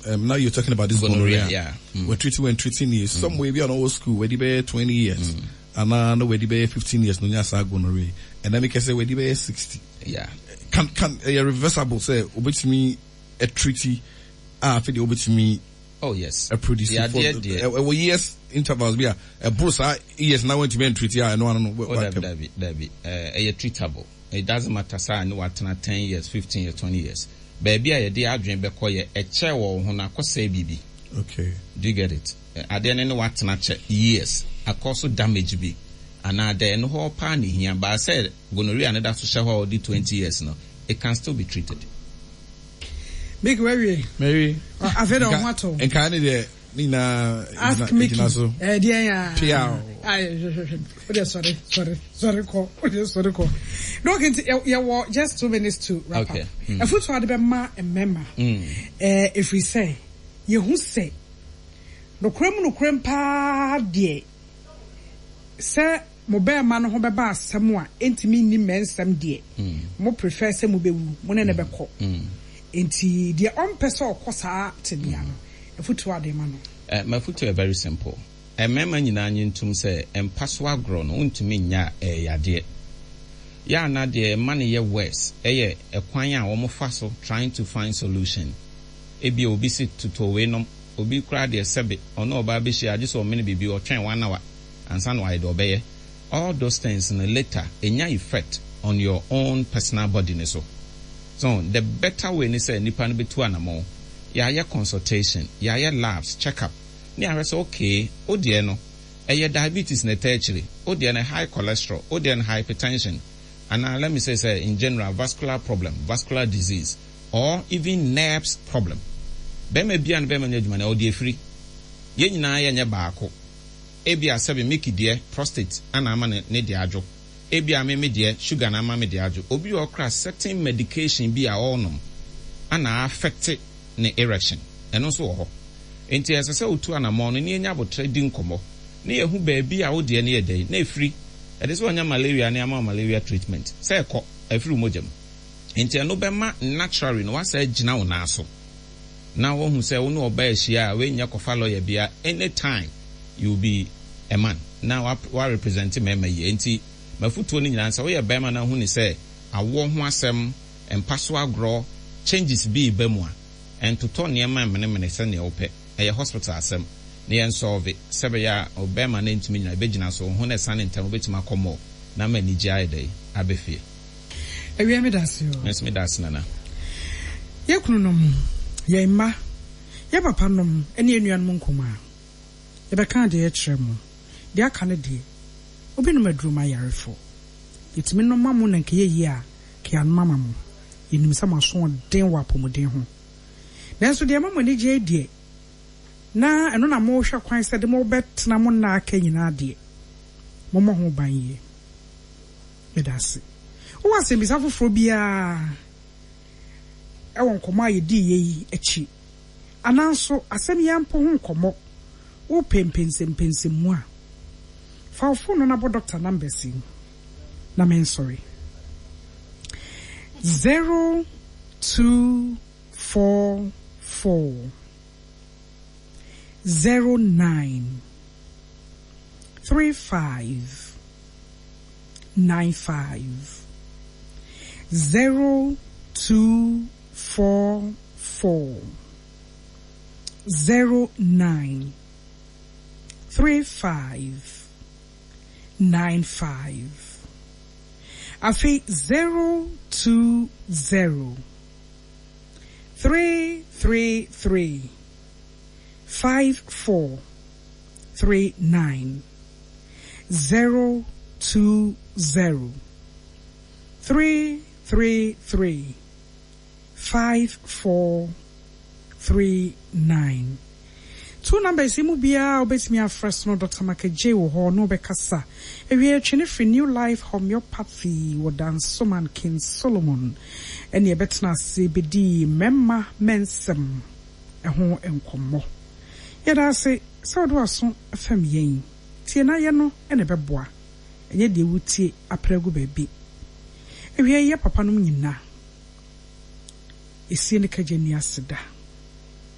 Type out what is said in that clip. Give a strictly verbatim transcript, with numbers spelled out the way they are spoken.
Um, now you're talking about this gonorrhea. Gonorrhea. Yeah. Mm. We're treating, we're treating you. Some way we are not school, where they twenty years. Mm. And now where they fifteen years, no nyasa gonorrhea. And then we can say where they sixty. Yeah. Can, can, uh, reversible say, obetumi a treaty, ah, for the obetumi Oh yes. a produce Yeah, for dear, the- dear. uh, uh, years intervals, yeah. A bruise, years now went to be treaty, I know, I don't know. Oh, dabi, dabi, dabi. Uh, ɛyɛ treatable. It doesn't matter sɛ ne watena ten years, fifteen years, twenty years. Baabi a yɛde adwene bɛkɔ yɛ ɛkyɛ wɔ wo ho na akɔsɛe biribi. Okay. Do you get it? Eh, adeɛ no ne watena kyɛ years akɔ so damage bi anaa dɛ ɛno hɔ paa ne hia baa sɛ gonorrhea ne da so hyɛ hɔ a ɔdi twenty years no, it can still be treated. Mickey, wawie? Mary. Afei na ɔho atɔ. Nka ne deɛ ne nyinaa Ask Mickey. gyina so. Eh, deɛ ya. Pia. Ay, hwɛ, hwɛ. Wode sɔre, sɔre, sɔre kɔ. Wode sɔre kɔ. Doc, nti yɛ- yɛwɔ just two minutes to wrap Okay. up. Mm. Afotu ade bɛma mmarima. Mm. Eh, ɛfiri sɛ yɛhu sɛ nokorɛ mu nokorɛ paa deɛ sɛ mo bɛrima no ho bɛba asɛm a ɛntumi nni mmɛnsɛm deɛ, mo prefer sɛ mobɛwu mo ne ne bɛkɔ. Mm. Nti deɛ ɔmpɛ sɛ ɔkɔ saa tebea no, afotu ade ma no? Uh, mafotu yɛ very simple. Mmarima nyinaa nye ntom sɛ mpa so agorɔ no wontumi nya ɛyɛ yadeɛ. Yɛ ana deɛ ɛma no yɛ worse ɛyɛ ɛkwan a wɔn fa so trying to find solution. Ebi obi si tutu wei nom, obi koraa deɛ sɛbe ɔno ɔbaa bɛhyia agye sɛ ɔmene biribi, ɔtwɛn one hour ansa na wayɛ deɛ ɔbɛyɛ. All those things no later ɛnya effect on your own personal body ne so. So the better way ne sɛ nipa no bɛtu anamɔ, yɛayɛ consultation, yɛayɛ labs check up ne ahwɛ sɛ okay, o deɛ no ɛyɛ diabetes na ɛtɛ akyire, o deɛ no high cholesterol, o deɛ no hypertension, anaa let me say sɛ in general vascular problem, vascular disease or even nerves problem. Bɛrima bia no bɛrima no adwuma no ɔde efiri yɛn nyinaa yɛnyɛ baako. Ebi a sɛbi Mickey deɛ prostate ana ama ne ne deɛ adwo, ebi a me me deɛ sugar na ama me deɛ adwo, obi a ɔkora certain medication bi a ɔrenom ana affect ne erection, ɛno nso wɔ hɔ. Nti ɛsɛ sɛ otu anammɔn no ne yɛnya abotire di nkɔmmɔ ne yɛhu baabi a wodeɛ no yɛ dɛn na efiri. Ɛde sɛ ɔnya malaria ne ama wo malaria treatment sɛ ɛkɔ ɛfiri wo mogya mu. Nti ɛno bɛma naturally no wasa gyina wo nan so na wɔhu sɛ wo ne ɔbaa ahyia a wɔnyɛ kɔfa lawyer bia. Anytime you will be a man na wa wa represent mmarima yie. Nti mafutuo no nyinaa sɛ woyɛ barima na hu ne sɛ awoɔ ho asɛm, mpa so agorɔ changes bi ba mu a, ɛntotɔ nneɛma mmenemene sɛnea wopɛ. Ɛyɛ hospital asɛm na yɛn solve sɛ bɛyɛ a ɔbɛrima no ntumi nyina ɛbɛgyina so wo ho na ɛsane ntɛm wobɛtumi akɔ mɔ na ma anigye ayɛ dɛ abɛ fie. Awia, me da ase o. Me nso meda ase, Nana. Yɛ kununom, yɛn mma, yɛ papa nom ne yɛn nuanom nkumaa, yɛbɛka adeɛ kyerɛ mo. Deɛ aka no deɛ, obi nom aduro ma yarefo, yɛtumi nom ma mo na nkɛyɛ yie a kɛanom ama mo. Yɛnim sɛ mo asoɔden wɔ apɔmuden ho, nanso deɛ ɛma mo ani gye deɛ na ɛno na mohwɛ kwan sɛ de mobɛtena mo nna aka nyinaa deɛ, mommɔ ho ban yie. Meda ase. Wowɔ asɛmbisa foforɔ biara ɛwɔ nkɔmmɔ a yɛdii yɛ yi akyi, anaa asɛm yi ampo ho nkɔmmɔ wopɛ mpɛnsɛmpɛnsɛmu a, fa wo phone no na bɔ doctor numbers yi na mensɔre: zero two four four zero nine three five nine five, zero two four four zero nine three five nine five. Afei zero two zero three three three five four three nine, zero two zero three three three five four three nine. Two numbers yi mu biara wobɛtumi afrɛ so no, Doctor Makagye wɔ hɔ na wobɛkasa. Awie atwene firi New Life Homeopathy wɔ Dansoman King Solomon ɛne ɛbɛtena ase bɛdii mmarima mɛnsɛm ɛho nkɔmmɔ. Yɛda ase sɛ wode w'aso fam yɛn tie na yɛ no ɛna ɛbɛboa, ɛnyɛ deɛ wotie aprɛ agu baabi. Awie yɛ papa nom nyinaa ɛsie ne kagya ni ase da.